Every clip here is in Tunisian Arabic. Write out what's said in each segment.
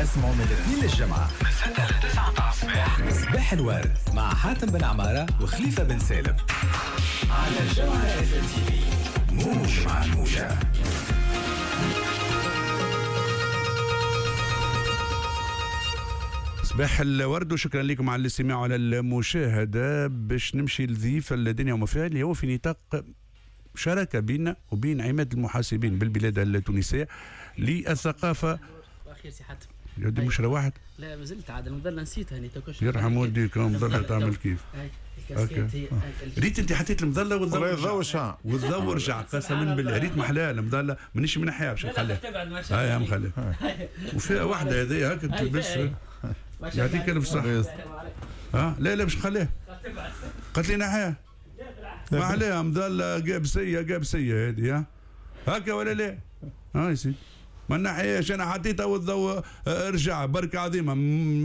تسمعوا من الاثنين للجمعة من 6 ل 9 متاع الصباح، صباح الورد مع حاتم بن عمارة وخليفة بن سالم على الجوهرة اف ام تي في، موج مع الموجة. صباح الورد وشكرا لكم على الاستماع وعلى المشاهدة. باش نمشي لضيف الدنيا وما فيها اللي هو في نطاق شراكة بيننا وبين عماد المحاسبين بالبلاد التونسية للثقافة. أخير سي حاتم. يا مش روحت؟ لا مازلت عاد المظلة نسيتها هني. يرحم والديك المظلة تعمل كيف؟ هاي ريت انت حطيت المظلة والضوء رجع، والضوء رجع قسما بالله. ريت محلاها المظلة، مانيش منحيها باش نخليها. هاي مخليها. وفيها واحدة هذيا هكا تلبس. يعطيك الف صحة. ها لا لا باش نخليها. قالت لي نحيها. ما عليها مظلة قابسية قابسية هذه، هكا ولا لا؟ ها يا سيدي ما نحياش، انا حطيتها والضوء رجع. بركة عظيمة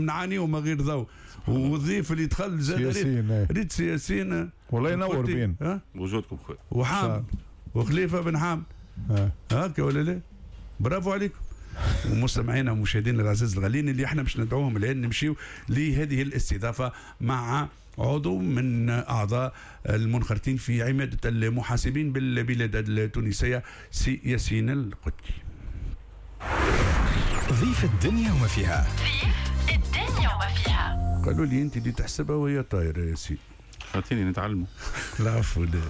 نعانيو من غير ضوء. والضيف اللي دخل زاد ريت سي ياسين والله ينور بين وجودكم خويا وحام وخليفة بن حام، هكا ولا لا؟ برافو عليكم. ومستمعينا ومشاهدينا العزاز الغاليين اللي احنا باش ندعوهم الان نمشيو لهذه الاستضافة مع عضو من اعضاء المنخرطين في عماده المحاسبين بالبلاد التونسية، سي ياسين القدكي. ضيف الدنيا وما فيها. ضيف الدنيا وما فيها. قالوا لي انت اللي تحسبها وهي طايره يا سي. خاطيني نتعلموا. العفو، لا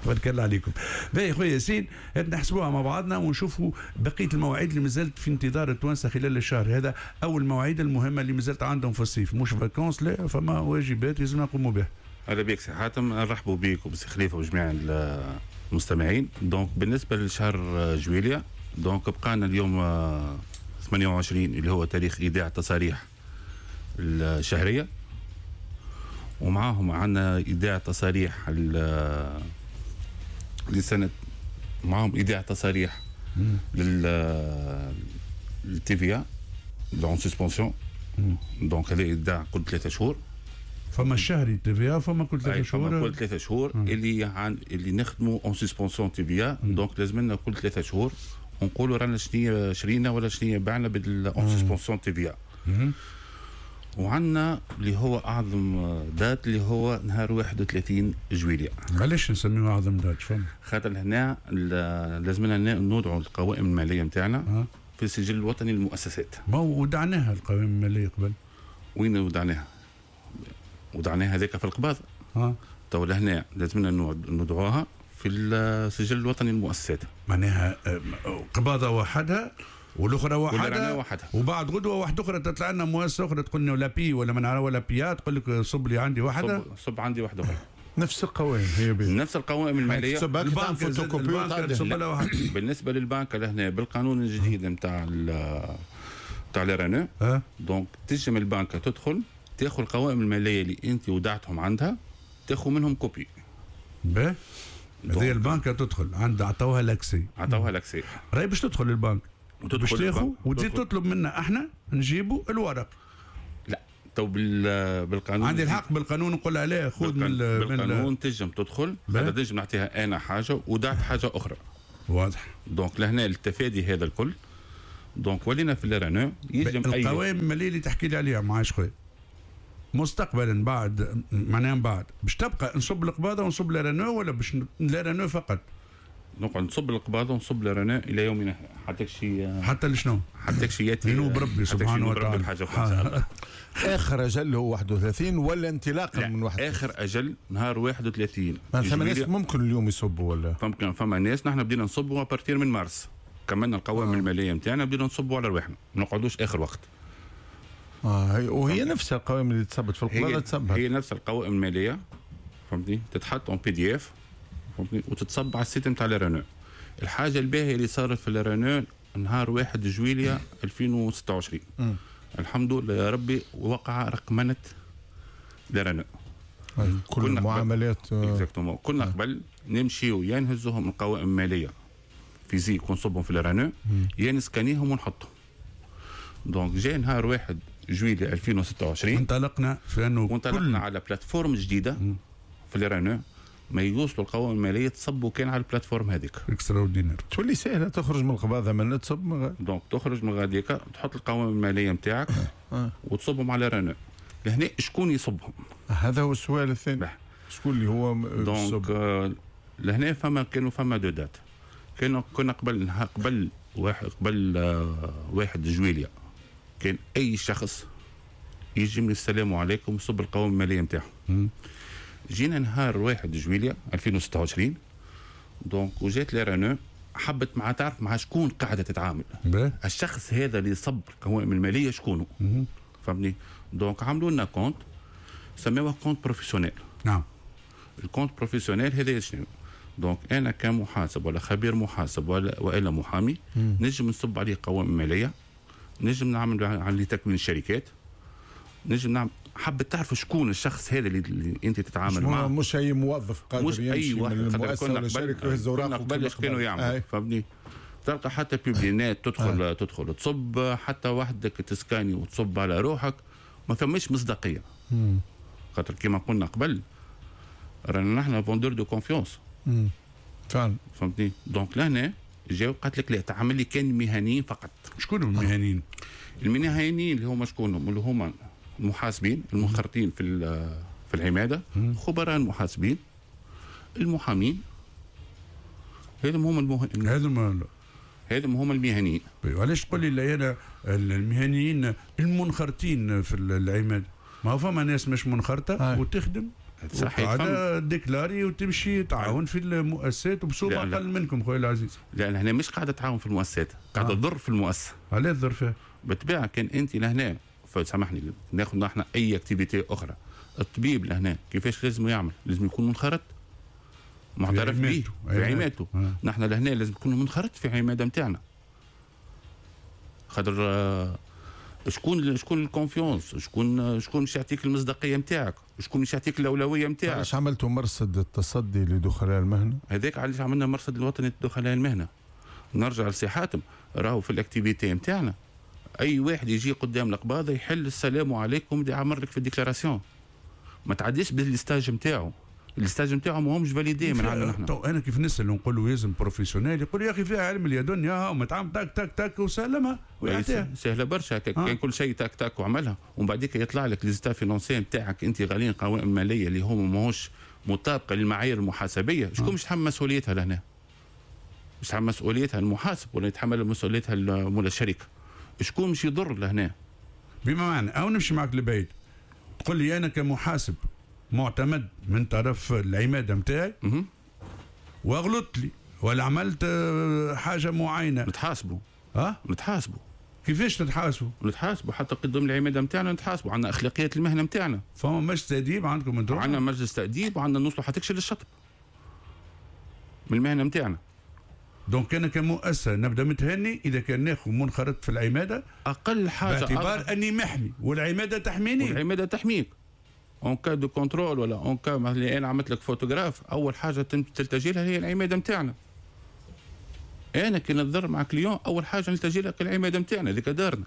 تبارك الله عليكم. باهي خويا ياسين، نحسبوها مع بعضنا ونشوفوا بقية المواعيد اللي مازالت في انتظار التوانسة خلال الشهر هذا، او المواعيد المهمة اللي مازالت عندهم في الصيف، مش vacances، لا فما واجبات لازم نقوموا بها. اهلا بك سي حاتم، نرحبوا بك وبسي خليفة وجميع المستمعين. donc بالنسبة لشهر جويليا، donc بقانا اليوم 28 اللي هو تاريخ ايداع التصاريح الشهرية، ومعاهم عندنا ايداع تصاريح لسنه، معاهم ايداع تصاريح لل TVA en suspension. donc هذا ايداع كل 3 شهور. فما الشهري TVA، فما كل 3 شهور. فما كل 3 شهور اللي نخدموا en suspension TVA. donc لازم لنا كل 3 شهور ونقولوا رانا شنو شرينا ولا شنو بعنا بال en suspension TVA. وعندنا اللي هو اعظم date اللي هو نهار 31 جويلية. علاش نسميه اعظم date؟ فهم خاطر هنا لازمنا نوضعوا القوائم المالية نتاعنا في السجل الوطني للمؤسسات. ما ودعناها القوائم المالية قبل. وين ودعناها؟ ودعناها هذاك في القباض. تو لهنا لازمنا نوضعوها في السجل الوطني للمؤسسات. معناها قباضه وحدها والاخرى وحدها، وبعد غدوه واحدة اخرى تطلع لنا مؤسسة اخرى تقول لنا ولا بي ولا من ولا بيا، تقول لك صب لي عندي واحدة، صب عندي واحدة اخرى. نفس القوائم هي بي. نفس القوائم المالية. البنك فوتوكوبي. بالنسبة للبنك لهنا بالقانون الجديد نتاع نتاع l'RNE، donc تنجم البنك تدخل تاخذ القوائم المالية اللي انت ودعتهم عندها، تاخذ منهم copie. باهي هذه البنك تدخل عندها، عطوها l'accès. عطوها l'accès راهي باش تدخل البنك باش تاخذ وتزيد تطلب منا احنا نجيبوا الورق. لا تو بالقانون عندي الحق بالقانون نقول عليه خذ من بالقانون تنجم تدخل، هذا تنجم نعطيها انا حاجة ودعت حاجة اخرى. واضح. donc لهنا التفادي هذا الكل، donc ولينا في ال RNE يجم اي القوائم المالية اللي تحكي لي عليها معاش خويا مستقبلا بعد، معناها بعد باش تبقى نصب القباضه ونصب ال RNE ولا باش ال RNE فقط؟ نقعد نصب القباضه ونصب ال RNE الى يومنا حتى شي حتى لشنو؟ حتى شي ياتي ينوب ربي سبحانه وتعالى بحاجة اخرى ان شاء الله. اخر اجل هو 31 ولا انطلاقا من 31؟ اخر اجل نهار 31. ما فما ناس ممكن اليوم يصبوا ولا؟ ممكن فما ناس نحن بدينا نصبوا à partir من مارس، كملنا القوائم المالية نتاعنا بدينا نصبوا على رواحنا، ما نقعدوش اخر وقت. وهي نفس القوائم اللي تصبت في القباضه تصبت. هي نفس القوائم المالية فهمتني، تتحط en PDF فهمتني وتتصب على ال site نتاع ال RNE. الحاجة الباهيه اللي صارت في ال RNE نهار 1 جويلية 2026 الحمد لله يا ربي وقع رقمنه ال RNE. كل المعاملات exactement. كنا قبل نمشيو يا نهزوهم القوائم المالية physique ونصبهم في ال RNE يا نسكانيهم ونحطهم. donc جاي نهار 1 جويلية 2026 انطلقنا في انه وانطلقنا على plateforme جديدة في ال RNE. ما يوصلوا القوائم المالية تصبوا كان على ال plateforme هذيك. extraordinaire. تولي سهلة تخرج من القباضه من تصب من donc تخرج من غاديك تحط القوائم المالية نتاعك وتصبهم على RNE. لهنا شكون يصبهم؟ هذا هو السؤال الثاني. شكون اللي هو donc لهنا فما كانوا فما deux dates. كنا قبل 1 جويليا كان اي شخص يجي من السلام عليكم يصب القوائم المالية نتاعو. جينا نهار 1 جويليا 2026 donc وجات l'RNE حبت مع تعرف مع شكون قاعدة تتعامل. الشخص هذا اللي صب القوائم المالية شكونه؟ فهمتني؟ donc عملوا لنا compte سموه compte professionnel. نعم. ال compte professionnel هذا شنو؟ donc انا كمحاسب ولا خبير محاسب ولا والا محامي نجم نصب عليه قوائم ماليه، نجم نعمل عليه تكوين شركات، نجم نعمل. حبت تعرف شكون الشخص هذا اللي انت تتعامل معه. مش اي موظف قادر مش اي واحد من المؤسسة ولا شركة يهز اوراقه. قبل كانوا يعملوا فهمتني؟ تلقى حتى publinet تدخل تدخل تصب حتى وحدك تسكاني وتصب على روحك، ما فماش مصداقية. خاطر كيما قلنا قبل رانا نحن vendeur de confiance. فعلا فهمتني؟ donc لهنا جاو قالت لك لا تعامل لي كان مهنيين فقط. شكون المهنيين؟ المهنيين اللي هما شكونهم؟ اللي هما المحاسبين المنخرطين في العماده، خبراء المحاسبين، المحامين، هذم هما هذم هما المهنيين. وعلاش تقول لي لا انا المهنيين المنخرطين في العماده؟ ما هو فما ناس مش منخرطه وتخدم صحيح قاعدة déclarée وتمشي تعاون في المؤسسات وبصوبه اقل منكم خويا العزيز. لا هنا مش قاعدة تعاون في المؤسسات، قاعدة تضر في المؤسسة. علاش تضر فيها؟ بالطبيعة كان انت لهنا فسامحني ناخذ نحن اي activité اخرى، الطبيب لهنا كيفاش لازم يعمل؟ لازم يكون منخرط معترف به في عمادته. نحن لهنا لازم نكون منخرط في عماده نتاعنا. خاطر شكون ال confiance، شكون مش يعطيك المصداقية نتاعك، شكون مش يعطيك الاولوية نتاعك. علاش عملتوا مرصد التصدي لدخلاء المهنة؟ هذاك علاش عملنا مرصد الوطني لدخلاء المهنة. نرجع لسي حاتم، راهو في ال activité نتاعنا اي واحد يجي قدام القباضه يحل السلام عليكم يعمر لك في ال déclaration، ما تعديش بال stage نتاعو، ال stage نتاعو ماهمش validé من عندنا نحن. تو انا كيف نسال ونقول له لازم professionnel يقول يا اخي فيها علم اليدن يا متعامل تاك تاك تاك وسلمها ويعطيها. سهلة برشا كان كل شيء تاك تاك وعملها، ومن بعديك يطلع لك les états financiers نتاعك انت غالين قوائم ماليه اللي هما ماهوش مطابقه للمعايير المحاسبيه، شكون مش يتحمل مسؤوليتها لهنا؟ مش يتحمل مسؤوليتها المحاسب ولا يتحمل مسؤوليتها مول الشركة؟ شكون مش يضر لهنا؟ بما معنى او نمشي معك لبعيد، تقول لي انا كمحاسب معتمد من طرف العماده نتاعي واغلطت لي ولا عملت حاجة معينة نتحاسبوا. نتحاسبوا. كيفاش تتحاسبوا؟ نتحاسبوا حتى قدام العماده نتاعنا، نتحاسبوا، عندنا اخلاقيات المهنة نتاعنا. فما مجلس تاديب عندكم انتم؟ عندنا مجلس تاديب وعندنا نوصلوا حتى للشطب من المهنة نتاعنا. donc انا كمؤسسة نبدا متهني اذا كان ناخذ منخرط في العماده اقل حاجة باعتبار اني محمي والعماده تحميني. والعماده تحميك en cas de contrôle ولا en cas مثلا انا عملت لك faute grave، اول حاجة تلتجي لها هي العماده نتاعنا. انا كي نتضرر مع client اول حاجة نلتجي لها العماده نتاعنا، هذيك دارنا.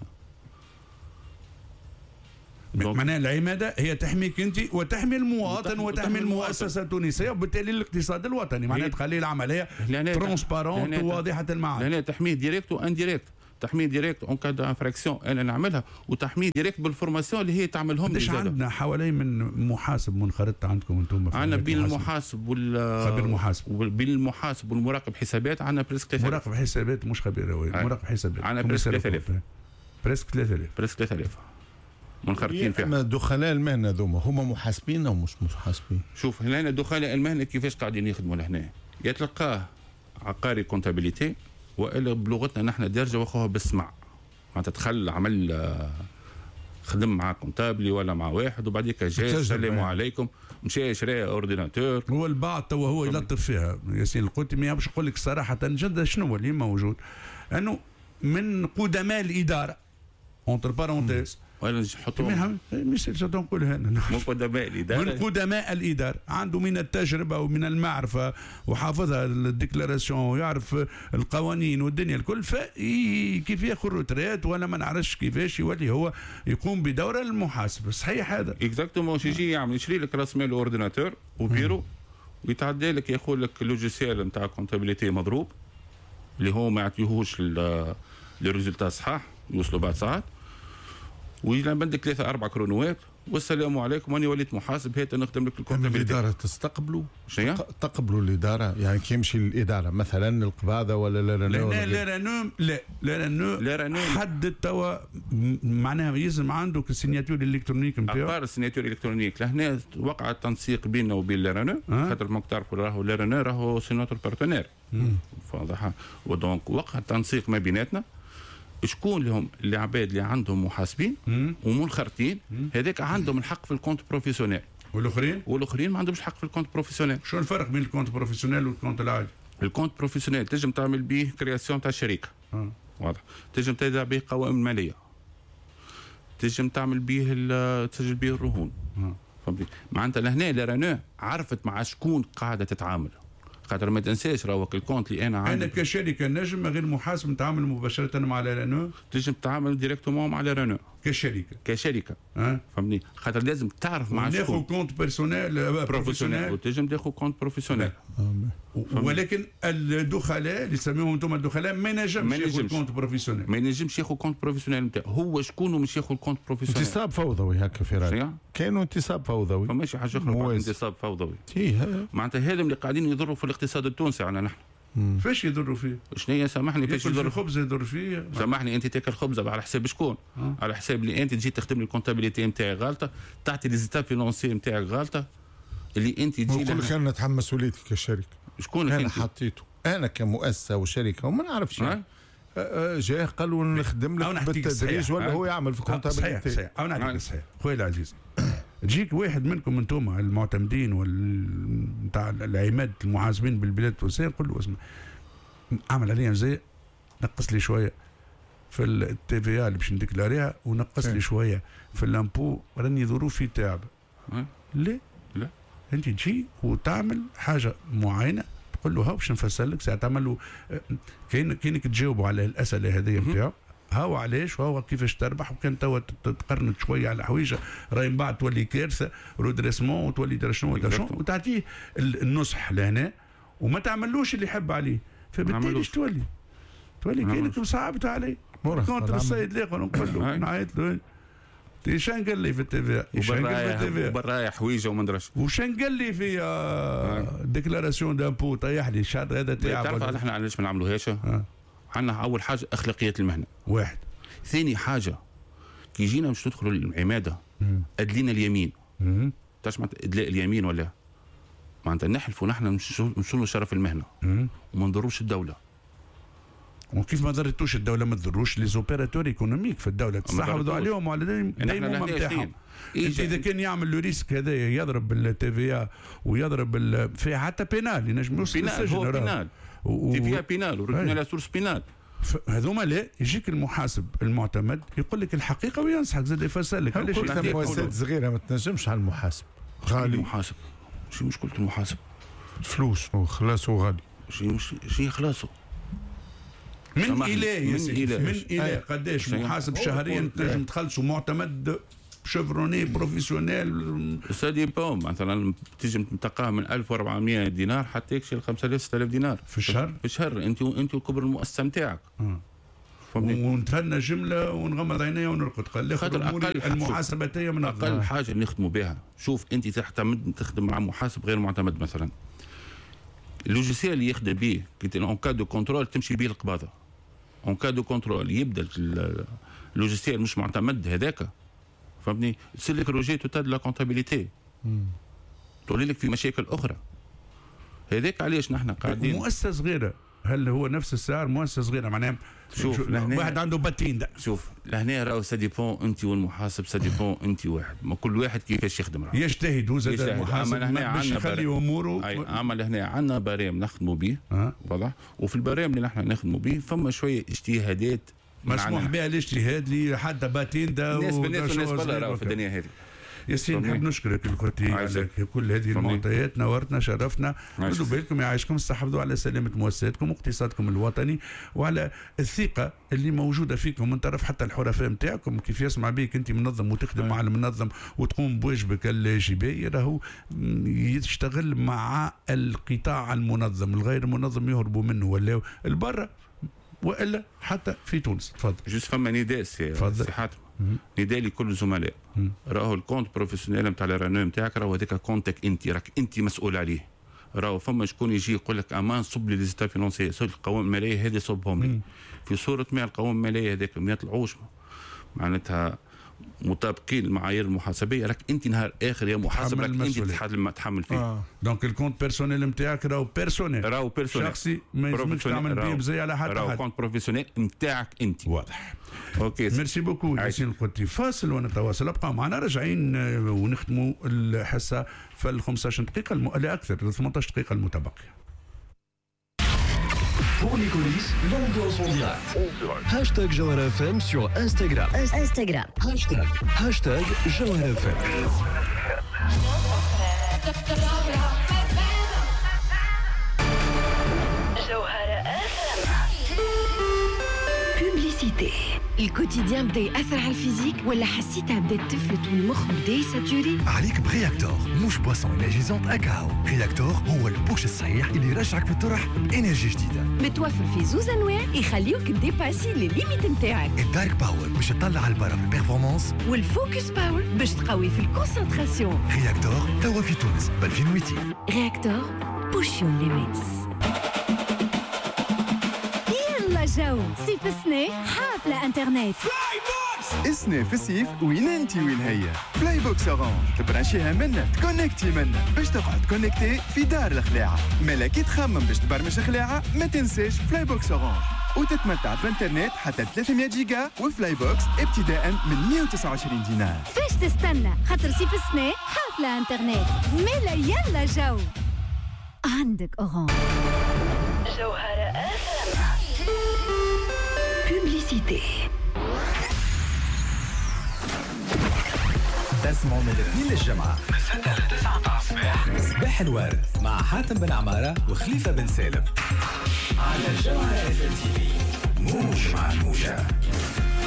معناها العماده هي تحميك انت وتحمي المواطن وتحمي المؤسسة التونسية وبالتالي الاقتصاد الوطني، معناها تخلي العملية transparente وواضحة المعالم. لهنا تحميه direct و indirect، تحميه direct en cas d'infraction انا نعملها، وتحميه direct بال formation اللي هي تعملهم. قداش عندنا حوالي من محاسب منخرط عندكم انتم؟ عندنا بين المحاسب وال خبير محاسب، بين المحاسب والمراقب حسابات عندنا presque 3000. مراقب حسابات مش خبير، مراقب حسابات عندنا presque 3000. presque 3000. presque 3000 منخرطين فيها. اما دخلاء المهنة ذوما هما محاسبين او مش محاسبين؟ شوف هنا دخلاء المهنة كيفاش قاعدين يخدموا لهنا، يتلقاه عقاري comptabilité والا بلغتنا نحن دارجه واخوها بالسمع، معناتها دخل عمل خدم مع comptable ولا مع واحد وبعديك جا السلام عليكم مشى شرى ordinateur. هو البعض توا هو يلطف فيها ياسين القوتي، ما باش نقول لك صراحة جد شنو اللي موجود انه من قدماء الادارة entre parenthèses ولا نحطوهم مش نقولها انا من قدماء الادارة، من قدماء الادارة عنده من التجربة ومن المعرفة وحافظها ال déclaration ويعرف القوانين والدنيا الكل، فكيف ياخذ retraite ولا ما نعرفش كيفاش يولي هو يقوم بدور المحاسب. صحيح هذا؟ exactement. يجي يعمل يشري لك راس مال ordinateur و bureau ويتعدى لك يقول لك logiciel نتاع comptabilité مضروب، اللي هو ما يعطيهوش les résultats صحاح، يوصلوا بعد ساعات، ويجي عندك 3 4 كرونوات والسلام عليكم، وانا وليت محاسب هات نخدم لك ال comptabilité. الادارة تستقبلوا؟ شنو؟ تقبلوا الادارة؟ يعني كي يمشي للادارة مثلا القباضه ولا لا لا لا لا لا لا لا حدد توا معناها يلزم عندك ال signature électronique نتاعو. à part ال signature électronique لهنا وقع التنسيق بيننا وبين l'RNE، خاطر ماك تعرفوا راهو l'RNE راهو c'est notre partenaire. واضحة. و donc وقع التنسيق ما بيناتنا، شكون لهم العباد اللي عندهم محاسبين ومنخرطين، هذاك عندهم الحق في ال compte professionnel، والاخرين ما عندهمش الحق في ال compte professionnel. شو الفرق بين ال compte professionnel وال compte العادي؟ ال compte professionnel تنجم تعمل به création تاع شركة، واضح، تنجم تدع به قوائم ماليه، تنجم تعمل به تسجل به الرهون. فهمتي؟ معناتها لهنا l'RNE عرفت مع شكون قاعدة تتعامل، خاطر ما تنساش راهو ال compte اللي انا عندي انا كشركة نجم غير محاسب نتعامل مباشرة مع l'RNE، تنجم تتعامل directement مع l'RNE كشركة. فهمتني؟ خاطر لازم تعرف مع شكون. ناخذ compte personnel professionnel وتنجم تاخذ compte professionnel، ولكن الدخلاء اللي تسميهم انتم الدخلاء ما ينجمش ياخذ compte professionnel، ما ينجمش ياخذ compte professionnel نتاعو، هو شكون مش ياخذ compte professionnel؟ انتصاب فوضوي هكا في رايي، كانوا انتصاب فوضوي، فماشي حاجة اخرى انتصاب فوضوي. معناتها هذم اللي قاعدين يضروا في الاقتصاد التونسي على نحن. فاش يضروا فيه؟ شنو هي سامحني فاش يضروا؟ الخبز يضر فيه. سامحني انت تاكل خبزه على حساب شكون؟ على حساب اللي انت تجي تخدم لي ال comptabilité نتاعي غالطه، تعطي les états financiers نتاعك غالطه، اللي انت تجي نقول لك انا نتحمل مسؤوليتي كشركة. شكون انا حطيته؟ انا كمؤسسة وشركه وما نعرفش يعني. جاه قالوا نخدم لك بالتدريج ولا هو يعمل في comptabilité. صحيح صحيح، او نعطيك صحيح خويا العزيز. تجيك واحد منكم انتم المعتمدين نتاع العماد المحاسبين بالبلاد التونسية، نقول له اسمع اعمل عليا زي نقص لي شوية في ال TVA اللي باش نديكلاريها، ونقص لي شوية في l'impôt، راني ظروفي تعب. ليه؟ لا انت تجي وتعمل حاجة معينة تقول له هاو باش نفسر لك، ساعة تعمل له كاينك تجاوبوا على الاسئلة هذه نتاعو، هاو علاش وهو كيفاش تربح، وكان توا تقرنت شوية على حويجه راهي من بعد تولي كارثة redressement وتولي درا شنو وتعطيه النصح لهنا وما تعملوش اللي يحب عليه، فبالتالي ايش تولي؟ تولي كاينك مصعبت عليه. contre السيد الاخر نقول له نعيط له شان قال لي في ال TVA، شان قال لي في ال TVA وبرايا حويجه وما ندرش، وشان قال لي في déclaration d'impôt طيح لي الشهر هذا تاعي. تعرف احنا علاش ما نعملوهاش؟ عندنا اول حاجة اخلاقيات المهنة واحد، ثاني حاجة كي جينا باش ندخلوا للعماده ادلينا اليمين. تعرف معناتها ادلاء اليمين ولا؟ معناتها نحلفوا نحن نشنوا شرف المهنة وما نضروش الدولة. وكيف ما ضرتوش الدولة ما تضروش les opérateurs économiques في الدولة، تستحوذوا عليهم وعلى دايما نتاعهم. انت اذا كان يعمل le risque هذا يضرب ال TVA ويضرب في حتى pénal ينجم يوصل للسجن، pénal TVA pénal و retenue à la source pénale. هذوما لا يجيك المحاسب المعتمد يقول لك الحقيقة وينصحك زاد يفسر لك علاش. مؤسسات صغيرة ما تنجمش على المحاسب غالي. المحاسب شو مشكلة المحاسب؟ فلوس وخلاصة غالي. شي خلاصه من الى يا سيدي، من الى قداش محاسب شهريا تنجم تخلصوا معتمد chevronné professionnel؟ ça dépend مثلا تنجم تلقاه من 1400 دينار حتى يكشي ل 5000 6000 دينار في الشهر. في الشهر انت وكبر المؤسسة نتاعك. ونتهنى جملة ونغمض عينيا ونرقد. قال خاطر اقل المحاسبة من اقل حاجة نخدموا بها. شوف انت تعتمد تخدم مع محاسب غير معتمد مثلا، ال logiciel اللي يخدم به en cas de contrôle تمشي به القباضه. en cas de contrôle يبدا ال logiciel مش معتمد هذاك، فهمتني؟ تصير لك rejet total la comptabilité، تولي لك في مشاكل اخرى. هذاك علاش نحن قاعدين. مؤسسة صغيرة هل هو نفس السعر؟ مؤسسة صغيرة معناها شوف واحد عنده باتين. شوف لهنا راهو ça dépend انت والمحاسب، ça dépend انت واحد، ما كل واحد كيفاش يخدم راهو يجتهد هو زاد المحاسب باش يخلي اموره. اما لهنا عندنا barème نخدموا به، واضح؟ وفي ال barème اللي نحن نخدموا به فما شوية اجتهادات مسموح بها الاجتهاد لحتى باتين دا الناس بالناس والناس برا راهو في الدنيا هذه. ياسين، نحب نشكرك الكوتي على كل هذه المعطيات، نورتنا شرفتنا. ردوا بالكم يعيشكم، استحفظوا على سلامه مؤسساتكم واقتصادكم الوطني وعلى الثقة اللي موجودة فيكم من طرف حتى الحرفاء نتاعكم. كيف يسمع بك انت منظم وتخدم مع المنظم وتقوم بواجبك الجبائي، راهو يشتغل مع القطاع المنظم، الغير منظم يهربوا منه ولا البرة والا حتى في تونس. تفضل. juste فما نداء سي حاتم، نداء لكل الزملاء، راهو ال compte professionnel نتاع ال RNE نتاعك راهو هذاك compte ك انت، راك انت مسؤول عليه. راهو فما شكون يجي يقول لك امان صب لي les états financiers، القوائم المالية هذه صبهم لي. في صوره ما القوائم المالية هذاك ما يطلعوش معناتها مطابقين المعايير المحاسبيه، راك انت نهار اخر يا محاسب راك انت تحمل فيه. donc ال compte personnel نتاعك راهو personnel، راهو personnel شخصي، ما يلزمكش تعمل بيه بزي على حتى حد، راهو compte professionnel نتاعك انت. واضح. OK، merci beaucoup ياسين القطي. فاصل ونتواصل، ابقى معنا راجعين ونختموا الحصة في ال 15 دقيقة لا اكثر، 18 دقيقة المتبقية. Pour les coulisses, l'ambiance en direct. Hashtag Jawhara FM sur Instagram. Instagram. Hashtag Jawhara FM. Jawhara FM. Publicité. ال quotidien بدا ياثر على ال physique ولا حسيتها بدات تفلت والمخ بدا يساتوري؟ عليك ب Réactor، مش boisson énergisante اكاو. Réactor هو ال push الصحيح اللي يرجعك في الطرح ب énergie جديدة. متوفر في زوز انواع يخليوك dépasser les limites نتاعك. ال Dark Power باش تطلع البرا في ال performance، وال Focus Power باش تقوي في ال concentration. Réactor توا في تونس ب 2200. Réactor، push your limits. يلا جو صيف السنة حافلة انترنت. السنة في الصيف وين انت وين هي Flybox Orange، تبرانشيها منا تكونكتي منا باش تقعد connecté في دار الخلاعة. مالا كي تخمم باش تبرمج خلاعة ما تنساش Flybox Orange وتتمتع بانترنت حتى 300 جيجا و Flybox ابتداء من 129 دينار. فاش تستنى؟ خاطر صيف السنة حافلة انترنت. مالا يلا جو عندك Orange. جوهرة Publicité. تسمعوا من الاثنين للجمعة من 6 ل 9 متاع الصباح صباح الورد مع حاتم بن عمارة وخليفة بن سالم على الجوهرة FM TV، موج مع الموجة.